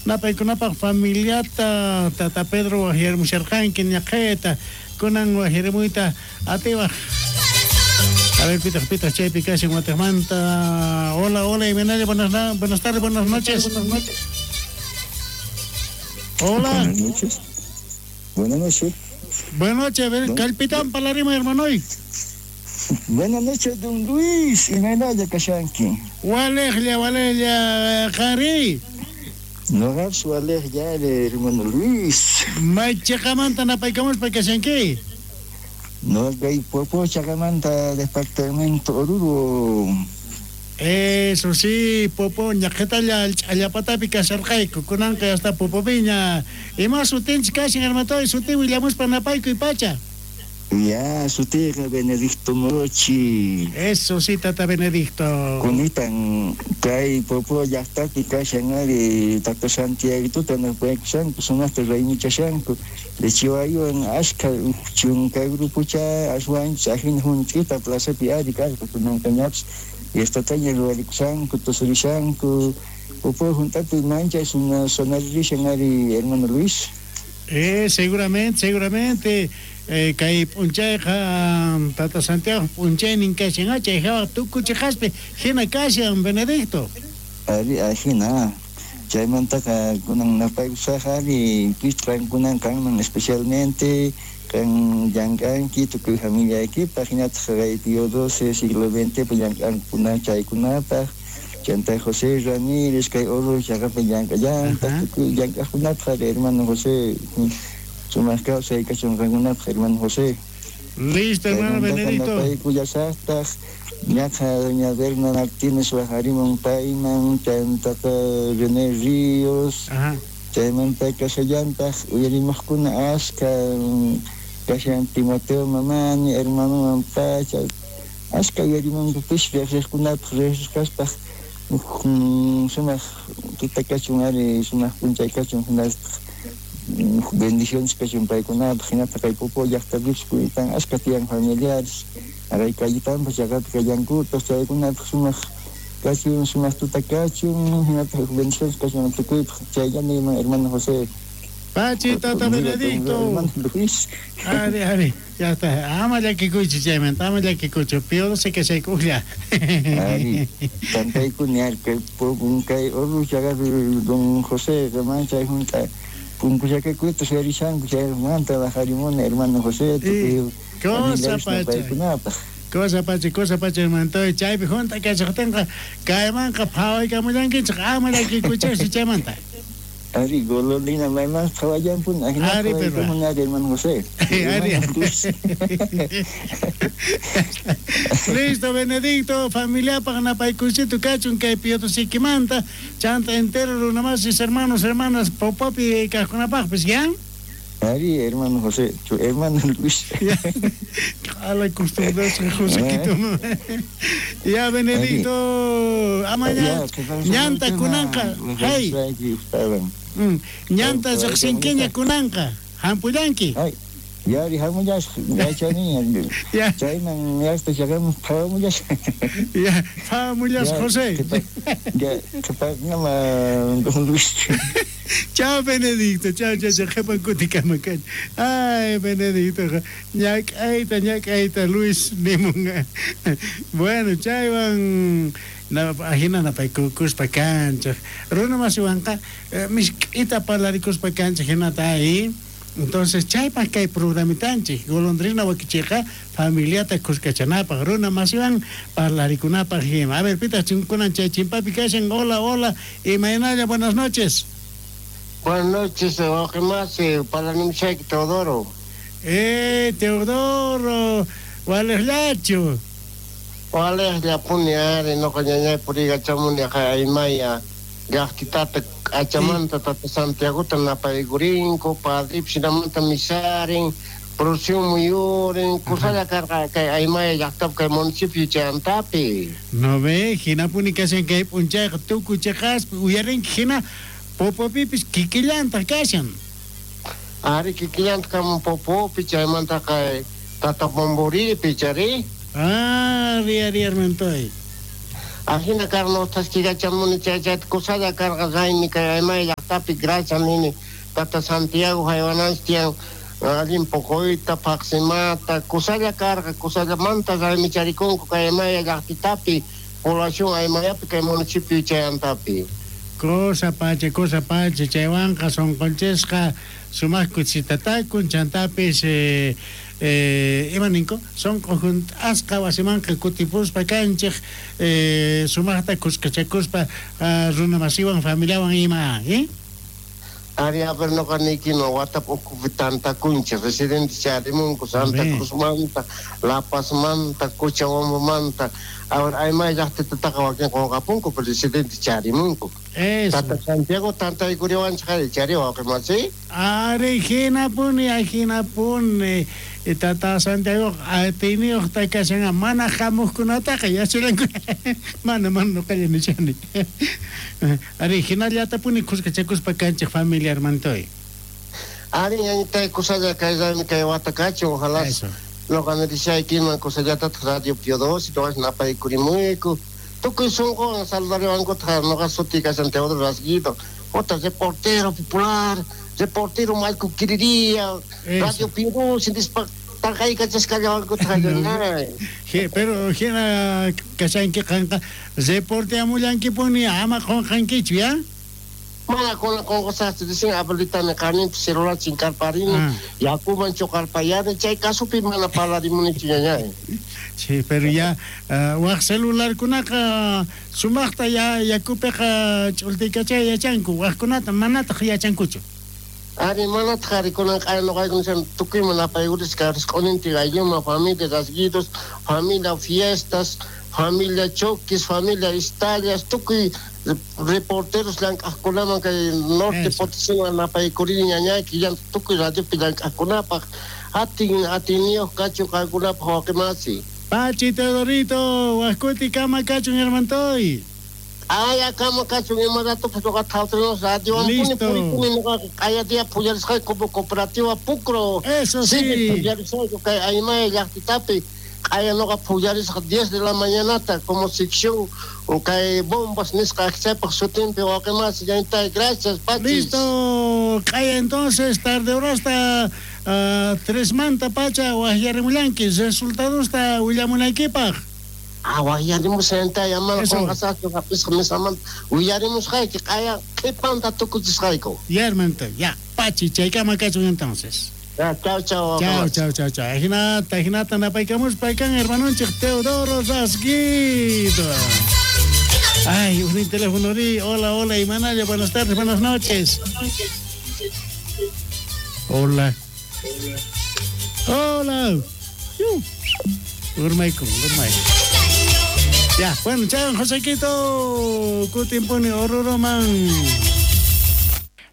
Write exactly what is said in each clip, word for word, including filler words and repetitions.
Napaykunapaq familiata Tata Pedro wajyarimusharqanki ñaqhayta kunan wajyarimuyta atiwaj. A ver, pitaq pitaq chaypi kashan watejmanta. Hola, hola, imaynalla, buenas, buenas tardes, buenas noches. Buenas noches. Hola. Buenas noches. Buenas noches. Buenas noches, a ver, kallpitan parlarima, hermanoy. Buenas noches, don Luis. Imaynalla kashanki. Walejlla, walejlla, qanri. Noqapis walejlla, hermano Luis. May chaqamanta napaykamuspa kashanki. Noqa Popo chaqamanta, departamento Oruro. Eso sí, Popo, ñaqhetalla ch'allapatapi kasharqayku, kunanqa hasta Popopiña. Ima sutinchik kashan, hermanoy, sutin willamuspa napaykuy pacha. Ya, sutiyqa Benedicto Morochi. Eso sí, tata Benedicto. Kunitan kay Popo llaqtapi kashan ari tata Santiaguituta napaykushanku, sumaqta raymichashanku. Lechiwaywan ashka chunka grupucha aswanchis ajina junch'ita plazapi ari karqa kunanqañapis. Fiestataña ruwarikushanku, tusurishanku. Popo junt'api manchay sonarishan ari, hermano Luis. Eh, seguramente, seguramente. Eh, kay p'unchayqa Tata Santiago p'unchaynin kashan, chay hawa tukuchiqaspi hina kashan, Benedicto. Ari, ajina. Chaymantaqa kunan napaykusaq ari pis qankunan kanman especialmente kan llank'anki tukuy familiaykipaq hinataq kay Pío doce siglo veinte llank'ankuna chaykunapaq. Chanta José Ramírez kay Oro chaqapi llank'allantaq tukuy llank'aqkunapaq hermano José. Sumaq kawsay kachun qankunapaq, hermano José. Listo, hermano Benedicto. Napaykullasaqtaq ñaqa doña Berna Martínez wajarimun payman, chantaqa René Ríos. Chaymanta kashallantaq uyarimuqkuna ashka kashan Timoteo Mamani, hermano Pacha. Ashka uyarimunkupis riqsiqkunapaq riqsisqaspaq sumaq tuta kachun ari, sumaq p'unchay kachun hinaspa bendiciones kachun paykunapaq hinataq kay Popo llaqtapipis kuytan ashka tiyan familiares aray kallitanpas llaqapi kallankutaq chaykunapaq sumaq kachun, sumaq tuta kachun hinataq bendiciones kachun tukuypaq chayllami hermano José. Pachi, tata Benedicto. Luis. Ari, ari, ya está. Ama llakikuychu chaymanta, ama llakikuychu. Pío doce kashaykuqlla. Ari, tantaykuni ari kay kay Oruro chaqapi don José manchay junta punkuchakakuyta suyarishanku chaymanta bajarimuni hermano José. Cosa pacha. Cosa pacha, cosa pacha, hermano. Chaypi junta kashaqtinqa kaymanqa phawaykamullankichik, ama llakikuychikchu chaymanta. Ari, golondrina mayman phawallampuni, ajinata Ari, pero phawaykamun ari, hermano José. Ari. Listo, Benedicto, familiapaq napaykuysito kachun kay Pío Doce-kimanta, chanta entero runamasis, hermanos, hermanas, Popopi kaqkunapaqpis, ¿ya? Ari, hermano José, tu hermano Luis. A la costumbre, Joséquito. Ya, Benedicto, amaña, ñanta kunanqa, hey. Ñanta riqsinkiña kunanqa, hampullanki. Ay, yari hamullasaq, yachaniña. Chayman yasta chaqamus phawamullasaq. Ya, phawamullasaq, José. Ya, qhipaqnama, don Luis. Chao, Benedicto, chao, chao, chao, qhipan kutikama kach. Ay, Benedicto, ñak'ayta, ñak'ayta, Luis nimunqa. Bueno, chaywan ajina napaykukuspa kanchaq. Runa masiwanqa misk'ita parlarikuspa kanchaq hinata ahí. Entonces, chaypaq kay programitanchik, golondrina wakichiqa familiata kuskachanapaq, runa masiwan parlarikunapaq hima. A ver, pitaq chinkunan chay chimpapi kashan. Hola, hola, imaynalla, buenas noches. Buenas noches, wawqimasi, parlanimushayki Teodoro. Eh, Teodoro, walejllachu. Walejllapuni ari, noqa ñañay puriykachamuni aymaya llaqtitata k'achamanta tata Santiagota napaykurinku, padripis hinamanta misarin, procesión muyurin, kusalla karqa kay aymaya llaqtapi kay municipio chayantapi. No ve, hinapuni kashan kay p'unchayqa tukuy chiqaspi uyarinki hina Popopipis kikillantaq kashan. Ari kikillantaq kamun Popopi chaymantaqa tata Bomboripi chari. Ah, ari, ari, hermantoy. Ajina karno thaskikachamuni chay chayta kusalla karqa raymi kay Aymaya llaqtapi gracias nini Tata Santiago haywananchik tiyan allin poqoyta paqsimata kusalla karqa kusallamanta raymicharikunku kay Aymaya llaqtitapi población Aymayapi kay municipio chayantapi. Cosa pacha, cosa pacha, chaywanqa sonqonchisqa sumaq kuchitatakun chantapis eh, eh, ima ninku sonqo junt'asqa wasimanqa kutipuspa kanchik eh, sumaqta kuskachakuspa uh, runamasiwan familiawan ima, eh? Ari, a ver, noqa niykima watap ukhupi tantakunchik residente charimunku Santa Cruzmanta, La Pazmanta, Cochabambamanta. A ver, Aymaya llaqtitataqa wakin qunqapunku, pero residente charimunku. Eso. Tata Santiago tantaykuriwanchik ari chari wawqimasi. Ari, hinapuni, hinapuni. Tata Santiago atiyniyuqta kashan mana hamuqkunataqa yacharanku. Mana, mana nuqalla nishani. Ari, hinallatapuni kuskachakuspa kanchik familia hermantoy. Ari, ñañitay kusalla kay raymi kay wata kachun, ojalá. Eso. Noqa nirishaykiman kusallatataq Radio Pio doce, todas napaykurimuyku. Tukuy sunquwan saludariwankutaq noqa suti kashan Teodoro Rasguido, otra reportero popular, reportero Malco Quiriría, Radio Pio doce, nispa taqaykachasqallawankutaq ñañay. Je, pero hina kashanki qanqa reporteamullankipuni ama qunqankichu, ya? Mana kuna qunqasaqchu, dicen abuelitani qaninpi celular chinkarparini, ah. Yakuman chuqarpayani, chay kasupi mana parlarimunichu ñañay. Sí, pero ya uh, waq celularkunaqa sumaqta ya yakupiqa ch'ultikachay yachanku, waqkunata manataq yachankuchu. Ari, manataq ari kunan q'aya nuqayku nishan tukuyman apaykurisqa risq'uninti aylluman, familia Rasguidos, familia fiestas, familia choques, familia istallas, tukuy reporteros llank'aqkunaman kay norte Potosíman napaykurini ñañayki llanta tukuy radiopi llank'aqkunapaq atin atiyniyuq kachun qankunapaq wawqimasi. Pachi Teodorito, waqkuti kama kachun hermantoy. Ay, kama kachun ima ratopas nuqa thawtrinos radiowanpuni purikuni nuqaqa q'aya día pullarisqayku como cooperativa Pucro. Eso sí. Pullarisqayku kay Aymaya llaqtitapi. Q'aya nuqa pullarisqa diez de la mañanata como sección kay bombas nisqa chaypaq sutinpi wawqimasi ñañitay, gracias Pachis. Listo, q'aya entonces tarde horasta uh, tres manta pacha waqyarimullanki resultadosta willamunaykipaq. Ah, waqyarimusqantay amana qunqasaqchu hapisqa mesamanta willarimusqayki q'aya qhipanta tukuchisqayku. Ya hermanito, ya Pachi, chaykama kachun entonces. Ya, chao, chao. Chao, chao, chao, chao. Ajinata, ajinata, napaykamuspa kan hermanonchik Teodoro Rasguido. Ay, un teléfono ri. Hola, hola, Imanaya, buenas tardes, buenas noches. Hola. Hola. Urmayku, urmayku. Ya, bueno, chao, Josequito. Kutimpuni, Oruroman.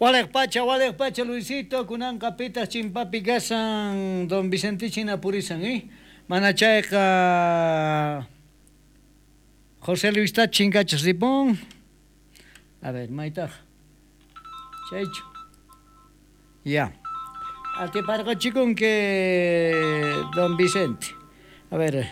Walej pacha, walej pacha, Luisito, kunanqa pitas chimpapi kasan, don Vicentichina purisan, eh? Manachayqa José Luis ta chinkachas ripun. A ver, maytaj. Chaychu. Ya. Atiparqachikun que don Vicente. A ver.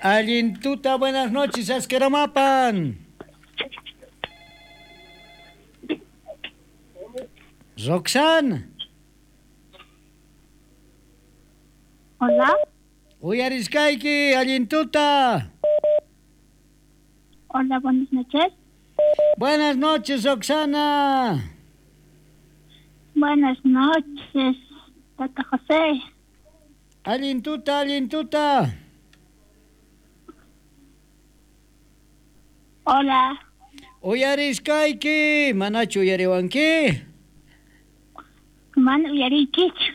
Allintuta, buenas noches, asqueramapan. Roxanne. Hola. Uyarisqayki, allintuta. Hola, buenas noches. Buenas noches, Roxana. Buenas noches, Tata José. Allintuta, allintuta. Hola. Uyarisqayki, manachu uyariwanki? Mana uyariykichu.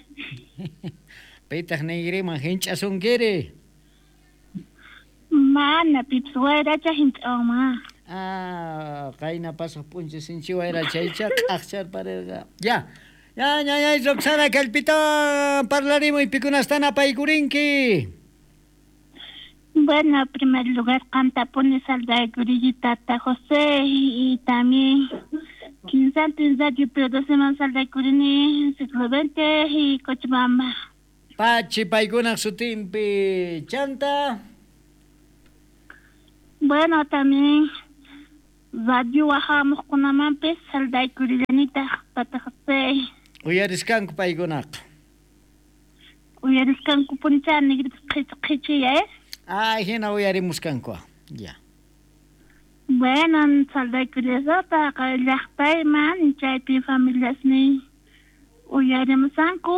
Pitaq niyriman hinch'asunkiri? Mana, pipas wayracha hinch'awma. Ah, qayna pasaq p'unchay sinchi wayrachaycha q'aqcharparirqa. Ya, ya, ya, ya, Roxana, kallpitawan parlarimuy pikunastan apaykurinki. Bueno, en primer lugar, qantapuni saludaykuriyki Tata José y también quinsantin Radio Pio doce man saludaykurini siglo veinte y Cochabamba. Pachi paykunaq sutinpi chanta. Bueno, también radio wajamuqkunamanpis saldaykurillanitaq Tata José. Uyariskanku paykunaqa. Uyariskanku punchani qhichiya, eh? Ah, hina uyarimuskanku. Ya. Bueno, saldaykurillasataq llaqtayman chaypi familiasniy uyarimusanku.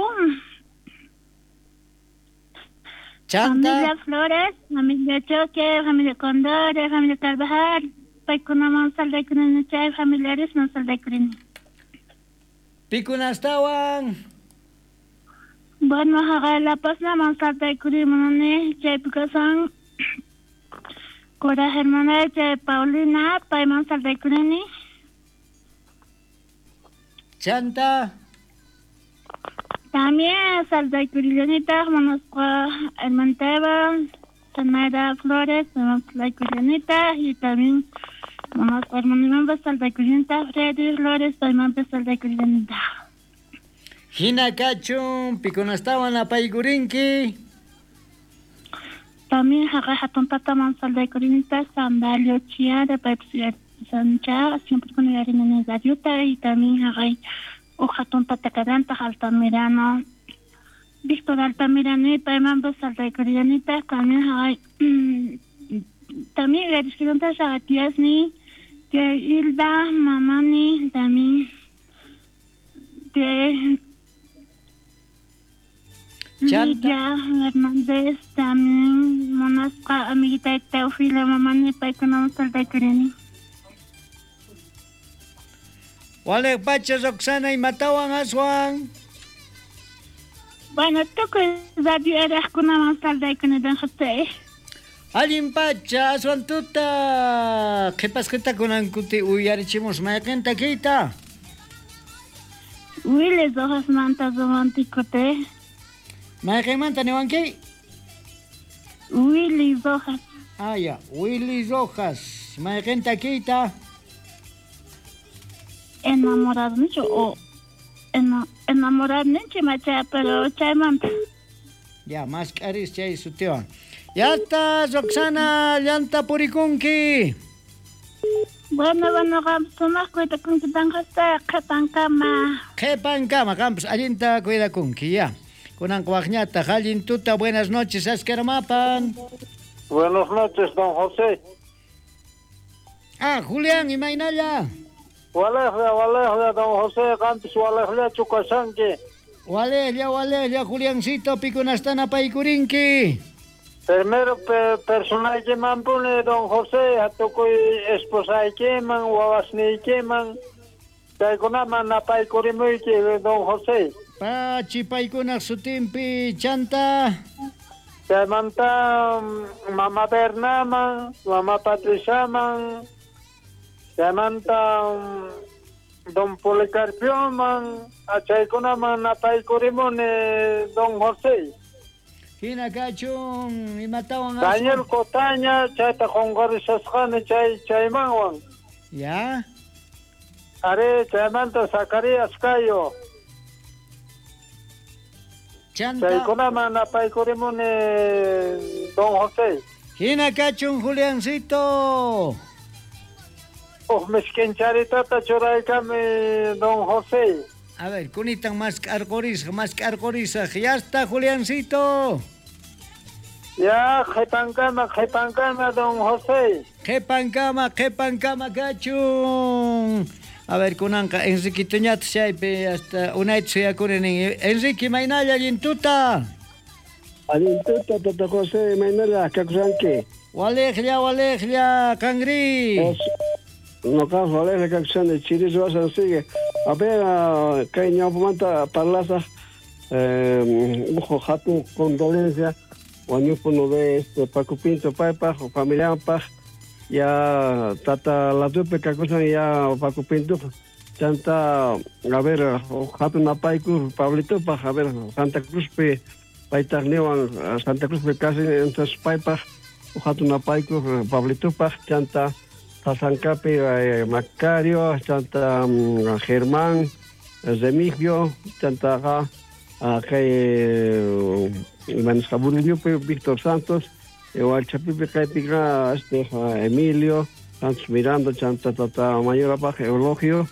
Chanta. Familia Flores, familia Choque, familia Condores, familia Carvajal, paykunaman saldaykurini chay familiaresman saldaykurini. Pikunastawan. Bueno, haqay La Paz-naman saldaykurimuni chaypi kasan Cora hermana chay Paulina, payman saldaykurini. Chanta. También saldaykurillanitaq monasqa hermanteva, Zenaida Flores, saldaykurillanitaq y también monasqa hermanimanpas saldaykurillanitaq Freddy Flores, paymanpas saldaykurillanitaq. Hina kachun, pikunastawan apaykurinki. También haqay hatun tataman saldaykurinitaq Sandalio Chiara, paypas uyarisancha, siempre kun uyarinani radiota y también haqay uj hatun tata karantaq Altamirano, Víctor Altamirano y paymanpas saldaykurillanitaq también haqay también uyarisqantas haqay tiasni, tía Hilda, mamani, también tía Lidia Hernández, también monasqa amiguita Teofila, mamani, paykunaman saldaykurini. Wale pacha Roxana imatawan aswan. Bueno, tukuy radio eraqkunaman saldaykuni don José. Allin pacha aswan tuta qhipasqita kunankuti uyarichimus mayqinta kayta. Willy Rojasmanta romanticote. Mayqinmanta niwanki? Willy Rojas. Ah, ya, Willy Rojas. Mayqinta kayta. Enamorado mucho o enamorado ninchi macha, pero chaymanta. Ya, más caris chay sutiwan. Ya está, Roxana, llanta purikunki. Bueno, bueno, qampas sumaq cuidakunki don José, qhipankama. Qhipankama, qampas allinta cuidakunki, ya. Kunanqa waqñataq, allin tuta, buenas noches, askaramapan. Buenas noches, don José. Ah, Julián, imaynalla. Walejlla, walejlla, don José, qampis walejllachu kashanki. Walejlla, walejlla, Juliancito, pikunastana apaykurinki. Primero pe personaykimanpuni, don José, tukuy esposaykiman, wawasniykiman, chaykunaman apaykurimuyki, don José. Pachi paykunaq sutinpi, chanta. Chaymanta mama Bernaman, mama Patriciaman, chaymanta don Policarpioman, achaykunaman apaykurimuni, don José. Hina kachun, imatawan Daniel Cotaña, chayta qunqarishasqani chay chaymanwan. Ya. Are, chaymanta Zacarías Cayo. Chanta. Chaykunaman apaykurimuni, don José. Hina kachun, Juliancito. Uj miskincharитata churaykami, don José. A ver, kunitan más k'arqurisaq, más k'arqurisaq. Ya está, Juliancito. Ya, qhipankama, qhipankama, don José. Qhipankama, qhipankama kachun. A ver, kunanqa Enriquitoñata chaypi hasta unayta suyakuni nin. Enrique, maynalla, allin tuta. Allin tuta, Tata José, maynalla, kakusanki. Walejlla, walejlla, qanri. Noqa walejlla kakusani, chiris wasan sigue. A ver, kay ñawpamanta parlasaq, uj hatun condolencia, wañupuno de este Paco Pinto paypaq, familianpaq, ya tata latupi kakusan ya Paco Pinto, chanta, a ver, hatun apayku Pablitopaq, a ver, Santa Cruzpi, paytaqniwan Santa Cruzpi kasi, entonces paypaq, hatun apayku Pablitopaq, chanta Sasancapi, eh, Macario, chanta um, Germán, Remigio, chanta kay Víctor Santos, Hualchapipi kaypiqa este Emilio Santos Miranda chanta tata mayorapaj Eulogio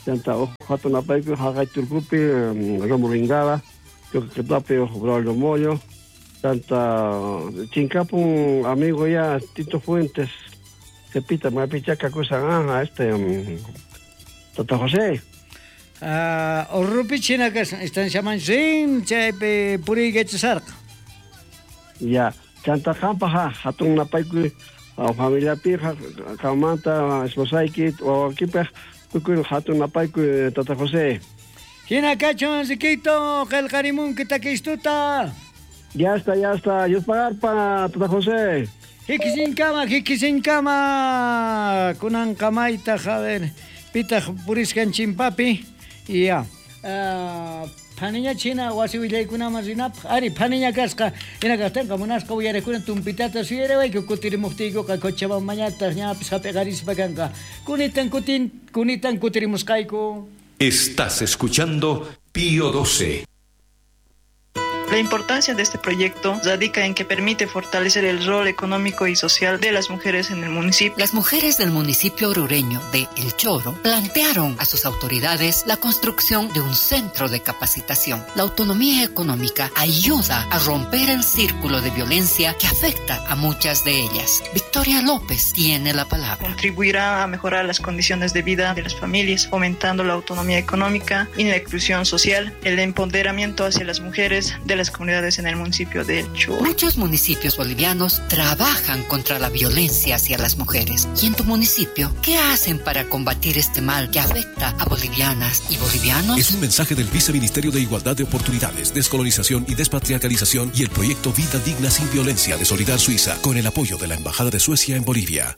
chanta uj hatun napaykuy haqay turkupi Romulo Ingala Choquequetapi uj Braulio Moyo chanta chinkapun amigo ya Tito Fuentes Cepita mapichaca kusan ah este um, Tata José. Ah, Urrupi china kasan estanciaman rin chaypi puriykachasarqa. Ya, chanta qanpaj hatun napaykuy familiapi qanmanta esposayki wawakipaj tukuy hatun napaykuy Tata José. Hina kachun Enriquito, qillqarimunki takistuta. Ya está, ya está. Dios pagarpa, Tata José. Hikisinkama, hikisinkama. Kunanqamaytaq, a ver, pitaq puriskan chimpapi. Ya. Uh, phaniña china wasi willaykunaman rinapaq. Ari, phaniña kasqa. Hina kaqtinqa munasqa uyarijkuna tumpitata suyariwayku kutirimuqtiykuqa Cochabambañataq ñapis hap'iqarispa kanqa. Kunitan kutin, kunitan kutirimusqayku. Estás escuchando Pío doce. La importancia de este proyecto radica en que permite fortalecer el rol económico y social de las mujeres en el municipio. Las mujeres del municipio orureño de El Choro plantearon a sus autoridades la construcción de un centro de capacitación. La autonomía económica ayuda a romper el círculo de violencia que afecta a muchas de ellas. Victoria López tiene la palabra. Contribuirá a mejorar las condiciones de vida de las familias, fomentando la autonomía económica y la inclusión social, el empoderamiento hacia las mujeres de las comunidades en el municipio de El Choro. Muchos municipios bolivianos trabajan contra la violencia hacia las mujeres. ¿Y en tu municipio qué hacen para combatir este mal que afecta a bolivianas y bolivianos? Es un mensaje del Viceministerio de Igualdad de Oportunidades, Descolonización y Despatriarcalización y el proyecto Vida Digna sin Violencia de Solidar Suiza, con el apoyo de la Embajada de Suecia en Bolivia.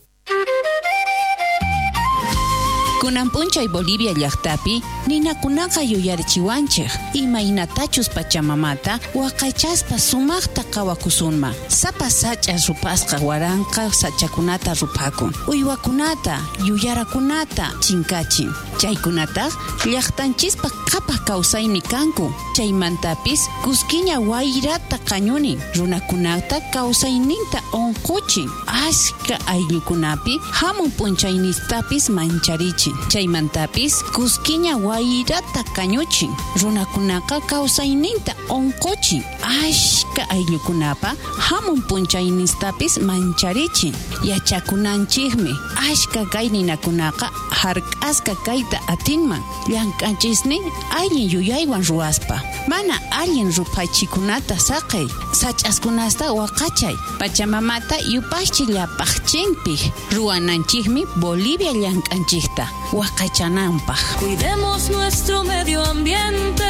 Kunan p'unchay Bolivia llaqtapi ninakunaqa yuyarichiwanchik imaynatachus pachamamata waqaychaspa sumaqta qawakusunman. Sapa sach'a rupasqa waranqa sachakunata rupakun, uywakunata, yuyarakunata chinkachin. Chaykunataq llaqtanchispa qhapaq kawsaymi kanku. Chaymantapis kuskiña wayrata qañunin, runakunata kawsayninta unquchin, ashka ayllukunapi hamun p'unchaynistapis mancharichin. Chaymantapis kuskiña wayrata kañuchin, runakunaqa kawsayninta unquchin, ashka ayllukunapa hamun p'unchaynistapis mancharichin. Yachakunanchikmi ashka kay ninakunaqa hark'asqa kayta atinman llank'anchisnin allin yuyaywan ruwaspa. Mana allin ruphachikunata saqey, sach'askunasta waqachay, pachamamata yupaychi llapaqchinpik ruwananchikmi Bolivia llank'anchikta waqaychananpaq. Cuidemos nuestro medio ambiente,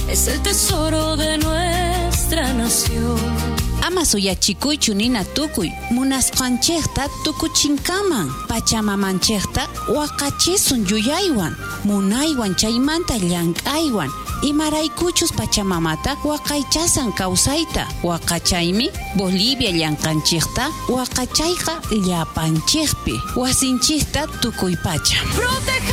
es el tesoro de nuestra nación. Ama suyachikuychu nina tukuy, munasqanchikta tukuchinkaman, pachamamanchikta waqachisun yuyaywan, munaywan chaymanta llank'aywan, imaraykuchus pachamamata waqaychasan kawsayta, waqachaymi Bolivia llank'anchikta waqachayqa llapanchikpi, wasinchikta tukuy pacha. Proteja